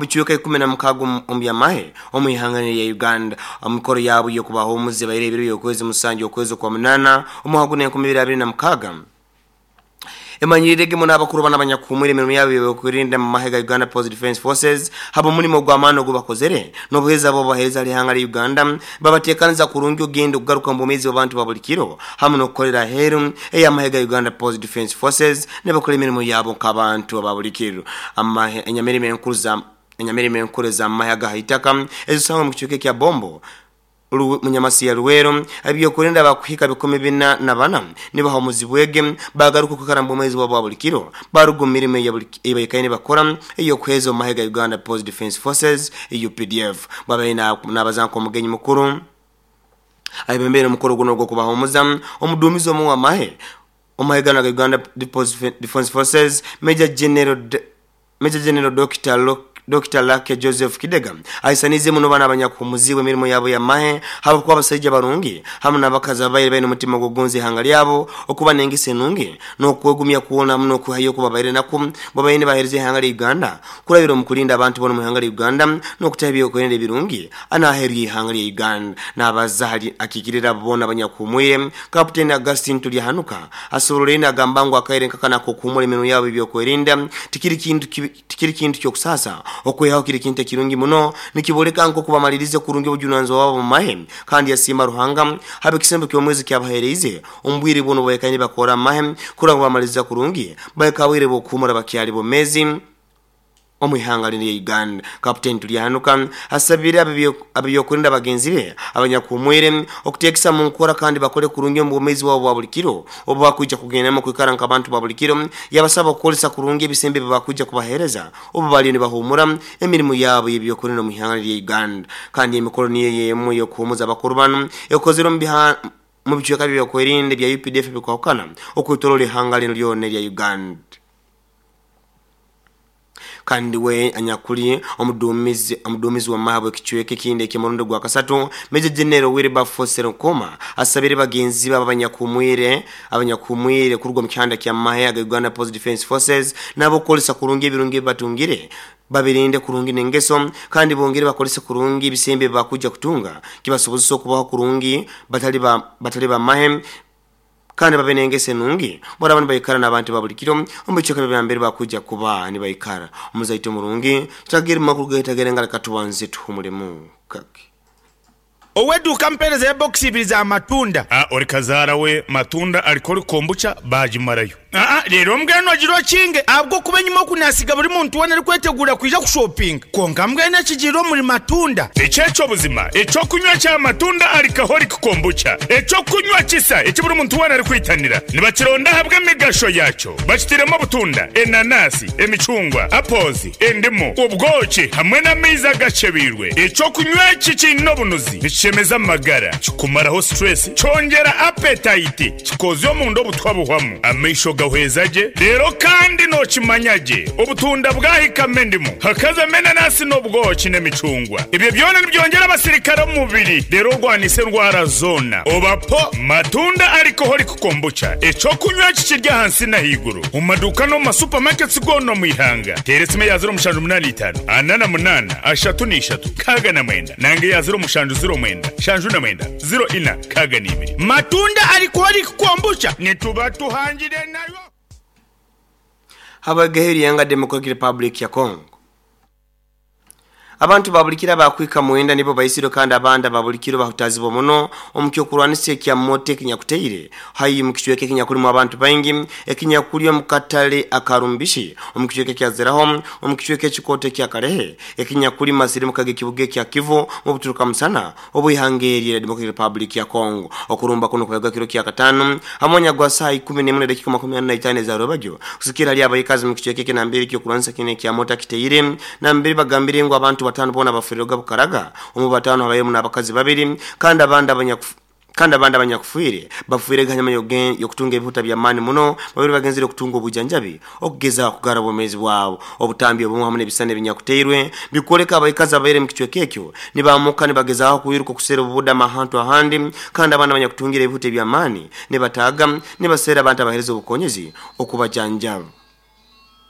Bicweka 16 omu by'amahe omu ihanga lya Uganda. Omukoro yabo y'okubahumuza ebaire ebiro by'okwezi 7 okwezi okwa 8 omwaka guno 2026. Emanyirire muno abakuru bana abanyakuhumwire emirimo yabo y'okwerinda mu mahe ga Uganda People's Defence Forces haba omulimo gw'amaani ogu bakozere n'obuheereza bwabo baheereza ihanga lya Uganda, babateekaniza kurungi ogenda okugaruka omu bwomeezi bw'abantu ba buli kiro hamu n'okukolera aheeru ey'amahe ga Uganda People's Defence Forces nibakora emirimo yabo nk'abantu aba buli kiro. Amahe enyamirimo enkuru za enyamirimo enkuru ez'amahe aga haitaka ezisangwa omu kicweka ekya Bombo, Munyamasi ya Luweero, ebyokwerinda bakuhika 404 nibahumuzibwege bagaruka okwikara mu bwomeezi bwabo bwa buli kiro, baruga omu mirimo eyibaikaire nibakora ey'okuheereza omu mahe ga Uganda People's Defence Forces UPDF. Bwabaire nabaza nk'omugenyi mukuru ayebembeire omukoro guno ogw'okubahumuza, omuduumizi omu w'amahe omu mahe ganu aga Uganda People's Defence Forces, Major General Major General Dokita Lucky Joseph Kidega ahisaniize muno banu abanyakuhumuziibwe emirimo yabo y'amahe habwokuba abasaija barungi hamu n'abakazi ababaire baine omutima gw'okugonza ihanga lyabo, okuba n'engeso enungi n'okwegumya kwona hamu n'okwehayo oku babaire nakwo babaire nibaheereza ihanga lya Uganda kurabira omu kulinda abantu boona omu ihanga lya Uganda n'okutaho ebyokwerinda ebirungi n'aheeru y'ihanga lya Uganda. N'abaza hali akiikirira abo boona abanyakuhumwire, Kaputeni Augustine Turyahanuka asoborolaire nagamba ngu akaire nkakanu ak'okuhumura emirimo yabo y'ebyokwerinda tikiri kintu kibi, tikiri kintu ky'okusaasa, okwihaho kiri kintu ekirungi muno, nikiboleka nk'oku bamalirize kurungi obujunanizibwa bwabo omu mahe, kandi yasiima Ruhanga habw'ekisembo ky'omwezi ekyabaheereize omu bwire bwona obu baikaire nibakora omu mahe kurora ngu bamaliriza kurungi bahika ha bwire bw'okuhumura bakyali bomeezi omu ihanga linu erya Uganda. Kaputeni Turyahanuka asabire ab'ebyokwerinda bagenzi be abanyakuhumwire okuteekesa mu nkora kandi bakole kurungi omu bwomeezi bwabo bwa buli kiro obu bakwija kugendamu kwikara nk'abantu ba buli kiro. Yabasaba okukozesa kurungi ebisembo ebi bakwija kubaheereza obu baliyo nibahumura emirimo yabo y'ebyokwerinda omu ihanga lya Uganda. Kandi emikoro niyo emu ey'okuhumuza abakuru banu ekozerwe omu bicweka by'ebyokwerinda ebya UPDF ebikwahukana okwetoroora ihanga linu lyona erya Uganda. Kandi we anyakuli omuduumizi omuduumizi w'amahe w'ekicweka ekindi eky'omurundi gwa kasatu, Major General Wilberforce Serunkuma asabire bagenzi be abanyakuhumwire abanyakuhumwire kuruga omu kihanda ky'amahe aga Uganda People's Defence Forces nabo kukozesa kurungi ebirungi ebi batungire, babirinde kurungi n'engeso kandi bongere bakozese kurungi ebisembo ebi bakwija kutunga kibasobozese okubaho kurungi batali ba batali bamahe kandi babe n'engeso enungi baraba nibaikara n'abantu ba buli kiro omu bicweka by'ebya bakwija kuba nibaikara. Omuzaito murungi tutagere mu makuru gaitu ag'enga leka tubanze tuhumulemu kake. Ow'eduuka ampeereza ebokisi ibiri za matunda. A Ori kazaara we matunda alikoli kombucha baagimarayo. Aa Reero mbwenu ogire okinge ahabw'okuba enyima oku naasiga buri muntu weena arikweteguura kwija kushopinga. Kwonka mbwenu ekigiire omuri matunda. Eki eky'obuzima, eky'okunywa kya matunda alcoholic kombucha, eky'okunywa kisa eki buri muntu weena arikwitanira. Nibakironda ahabw'emigasho yaakyo. Bakitairemu obutunda, enanasi, emicungwa, apples, endimu, obwoki hamwe n'amaizi agacebeirwe. Eky'okunywa eki kiine obunuzi, nikishemeza amagara, kikumaraho stress, kyongyera appetite, kikoozya omunda obutwa buhwamu, amaisho gahweza gye, reero kandi nookimanya gye obutunda bwahikamu endimu, hakazamu enanasi n'obwoki n'emicungwa. Ebyo byona nibyongyera abasirikare omu mubiri reero orwanise endwara zoona. Oba po matunda alcoholic kombucha, eky'okunywa eki kiri ahansi n'ahaiguru omu maduuka n'omu ma supermarkets goona omu ihanga. Teera esimu eya 0785 48 33 69 nanga eya 0709 79 04 62. Matunda alcoholic kombucha nituba tuhangire nayo. Habw'egehe ery'enga Democratic Republic ya Congo. Abantu ba buli kiro abakuhika mwenda nibo baisirwe kandi abandi aba buli kiro bahutazibwa muno omu ky'okurwanisa ekya moto ekinyakuteire haihi omu kicweka ekinyakulimu abantu baingi ekinyakuli omu katale aka Rumbishi omu kicweka ekya Zeraho omu kicweka ekikooto ekya Kalehe ekinyakuli masirimuka g'ekibuga ekya Kivu mu buturuka musana obw'ihanga eri erya Democratic Republic ya Congo. Okurumba kunu kubairwe kiro kya Katano ha mwanya gwa saaha ikumi n'emwe n'edakiika 45 eza rwebagyo kusikira hali abaikazi mu kicweka eki nambere eky'okurwanisa kinu ekya mota kiteire nambere bagambire ngu abantu batano boona bafiirirwega bukaraga. Omu batano habairemu n'abakazi babiri kandi abandi abanyakufu Kandi abandi abanyakufiire, bafiirege hanyuma y'okutunga ebihuta by'amaani muno, babaire bagenzere okutunga obwijanjabi okugezaho kugarra obwomeezi bwabo. Obutambi obumu hamu n'ebisisani ebinyakuteirwe bikwoleka abaikazi ababaire omu kicweka ekyo nibamuka nibagezaho kwiruka okuseera obubudamo ahantu ahandi, kandi abandi abanyakutungire ebihuta eby'amaani nibataaga nibaseera abantu abaheereza obukonyezi okubajanjaba.